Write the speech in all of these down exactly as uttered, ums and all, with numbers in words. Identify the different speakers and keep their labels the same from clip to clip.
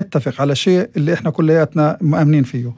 Speaker 1: نتفق على شيء اللي إحنا كلياتنا مؤمنين فيه.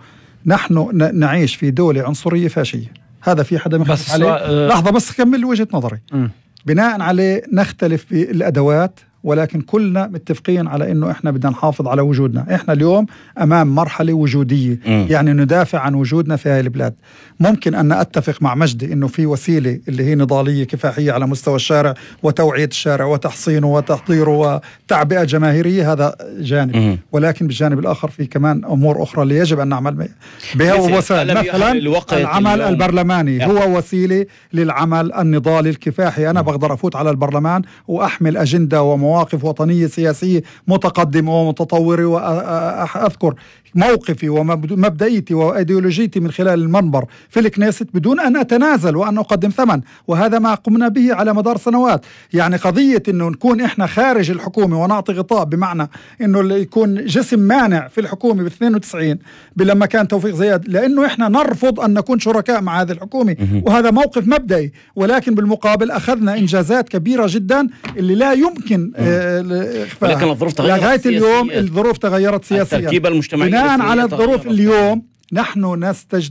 Speaker 1: نحن نعيش في دولة عنصرية فاشية، هذا في حدا مختلف عليه؟ أه لحظة بس كمل وجهة نظري. م. بناء عليه نختلف بالأدوات، ولكن كلنا متفقين على إنه إحنا بدنا نحافظ على وجودنا. إحنا اليوم أمام مرحلة وجودية، م. يعني ندافع عن وجودنا في هاي البلاد. ممكن أن أتفق مع مجدي إنه في وسيلة اللي هي نضالية كفاحية على مستوى الشارع وتوعية الشارع وتحصينه وتحضيره وتعبئة جماهيرية، هذا جانب، م. ولكن بالجانب الآخر في كمان أمور أخرى اللي يجب أن نعمل بها وسائل. مثلا العمل البرلماني هو وسيلة للعمل النضالي الكفاحي. أنا م. بقدر أفوت على البرلمان وأحمل أجندة ومواقف مواقف وطنية سياسية متقدمة ومتطورة، وأذكر موقفي ومبدئيتي وأيديولوجيتي من خلال المنبر في الكنيست بدون أن أتنازل وأن أقدم ثمن، وهذا ما قمنا به على مدار سنوات. يعني قضية أنه نكون إحنا خارج الحكومة ونعطي غطاء، بمعنى أنه يكون جسم مانع في الحكومة باثنين وتسعين لما كان توفيق زياد، لأنه إحنا نرفض أن نكون شركاء مع هذه الحكومة، وهذا موقف مبدئي. ولكن بالمقابل أخذنا إنجازات كبيرة جدا اللي لا يمكن
Speaker 2: ولكن الظروف تغيرت
Speaker 1: لغاية اليوم. الظروف تغيرت سياسيا.
Speaker 2: التركيبة المجتمعية
Speaker 1: بناء على الظروف اليوم نحن نستج...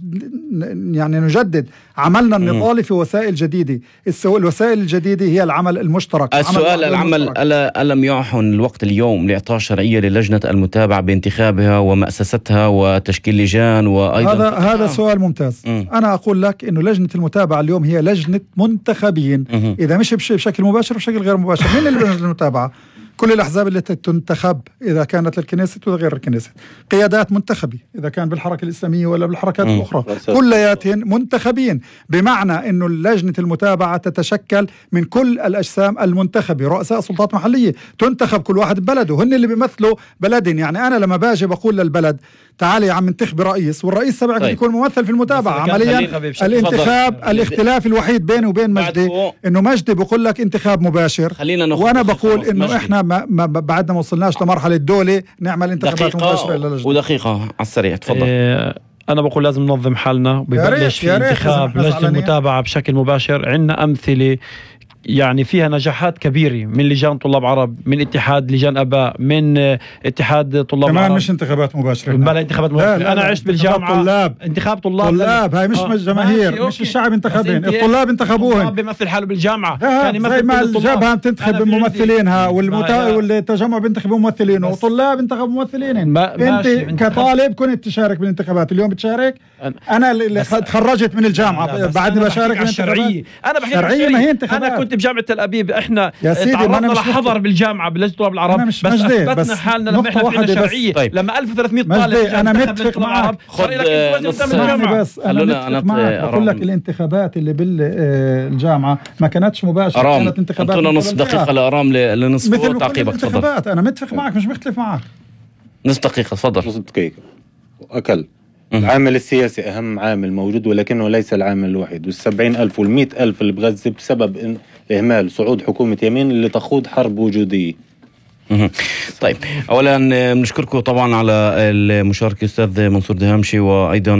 Speaker 1: يعني نجدد عملنا النضالي في وسائل جديدة. الوسائل الجديدة هي العمل المشترك.
Speaker 2: السؤال العمل ألا ألم يعحن الوقت اليوم لإعطاء شرعية للجنة المتابعة بانتخابها ومؤسستها وتشكيل لجان وأيضا
Speaker 1: هذا هذا سؤال ممتاز. م. أنا أقول لك إنه لجنة المتابعة اليوم هي لجنة منتخبين، م. إذا مش بشكل مباشر بشكل غير مباشر. مين اللي لجنة المتابعة؟ كل الأحزاب اللي تنتخب إذا كانت للكنيست وغير الكنيست، قيادات منتخبة إذا كان بالحركة الإسلامية ولا بالحركات م. الأخرى، كلياتهم منتخبين. بمعنى أنه لجنة المتابعة تتشكل من كل الأجسام المنتخبة، رؤساء سلطات محلية تنتخب كل واحد ببلده، هن اللي بيمثلوا بلدين. يعني أنا لما باجي بقول للبلد تعالي يا عم انتخب رئيس، والرئيس تبعك طيب. يكون ممثل في المتابعة عمليا. الانتخاب فضل. الاختلاف الوحيد بيني وبين مجدي انه مجدي بقول لك انتخاب مباشر، وانا بقول انه احنا ما, ما بعدنا ما وصلناش لمرحلة الدولة نعمل انتخابات مباشرة للجنة.
Speaker 2: ودقيقة على السريع تفضل.
Speaker 3: إيه أنا بقول لازم ننظم حالنا وبيبلش في انتخاب لجنة المتابعة بشكل مباشر. عندنا أمثلة يعني فيها نجاحات كبيرة من لجان طلاب عرب، من اتحاد لجان أباء، من اتحاد طلاب
Speaker 1: كمان
Speaker 3: عرب.
Speaker 1: مش انتخابات مباشرة،
Speaker 3: بلا انتخابات مباشرة. لا لا أنا عشت بالجامعة
Speaker 1: طلاب.
Speaker 3: انتخاب طلاب
Speaker 1: طلاب هاي مش آه. جماهير، مش الشعب انتخبين، الطلاب انتخبوهم.
Speaker 3: الطلاب بيمثل حاله بالجامعة،
Speaker 1: يعني زي ما الجبهة بتنتخب ممثلينها والتجمع بينتخب ممثلينه، والطلاب انتخبوا ممثلينهم. انت كطالب كنت تشارك بالانتخابات، اليوم بتشارك؟ انا اللي تخرجت من الجامعة بعدني بشارك بالانتخابات.
Speaker 3: انا بحكي
Speaker 1: شرعية ما هي انتخابات.
Speaker 3: انا كنت بجامعة تل أبيب، احنا
Speaker 1: تعرضنا
Speaker 3: لحظر بالجامعة بلجنة طلاب العرب، بس اثبتنا حالنا لما احنا فينا شرعية. طيب. لما ألف وثلاثمئة طالب
Speaker 1: انا متفق معك.
Speaker 2: خد
Speaker 1: بس انا متفق معك. اقول لك الانتخابات اللي بالجامعة ما كانتش مباشرة، كانت انتخابات.
Speaker 2: انتونا نص دقيقة لأرام لنصف تعقيبك.
Speaker 1: تفضل. انا متفق معك مش مختلف معك.
Speaker 2: نص دقيقة تفضل.
Speaker 4: نص دقيقة أكل. العامل السياسي أهم عامل موجود، ولكنه ليس العامل الوحيد. والسبعين ألف والمئة ألف اللي بغزة بسبب إهمال صعود حكومة يمين اللي تخوض حرب وجودية.
Speaker 2: طيب أولا بنشكركم طبعا على المشاركة أستاذ منصور دهامشي وأيضا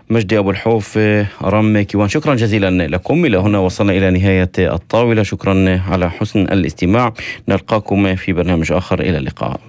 Speaker 2: مجدي أبو الحوف أرام كيوان. شكرا جزيلا لكم. إلى هنا وصلنا إلى نهاية الطاولة. شكرا على حسن الاستماع. نلقاكم في برنامج آخر. إلى اللقاء.